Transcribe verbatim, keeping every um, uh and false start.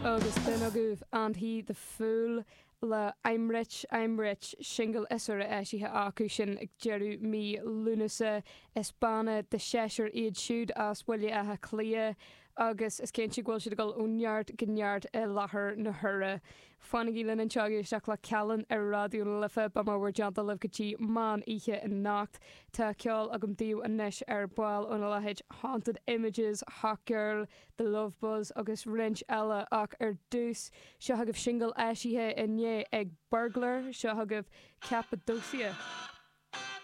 Agus b'in agaibh And He the Fool le I'm Rich, I'm Rich, singil is úire eisithe acu sin ag deireadh mí Lúnasa. Is banna de sheisear iad siúd as Baile Átha Cliath agus is cinnte go bhfuil siad ag dul ó neart go neart i láthair na huaire. Fanaigí linn anseo ag éisteacht le Callan ar Raidió na Life, beidh mé bhur dteannta libh go dtí meán oíche anocht. Tá ceol agam daoibh anois ar ball óna leithéid Haunted Images, Hot Girl, The Love Buzz agus roinnt eile ach ar dtús seo agaibh singil eisithe inné ag Burglar, seo agaibh Cappadocia.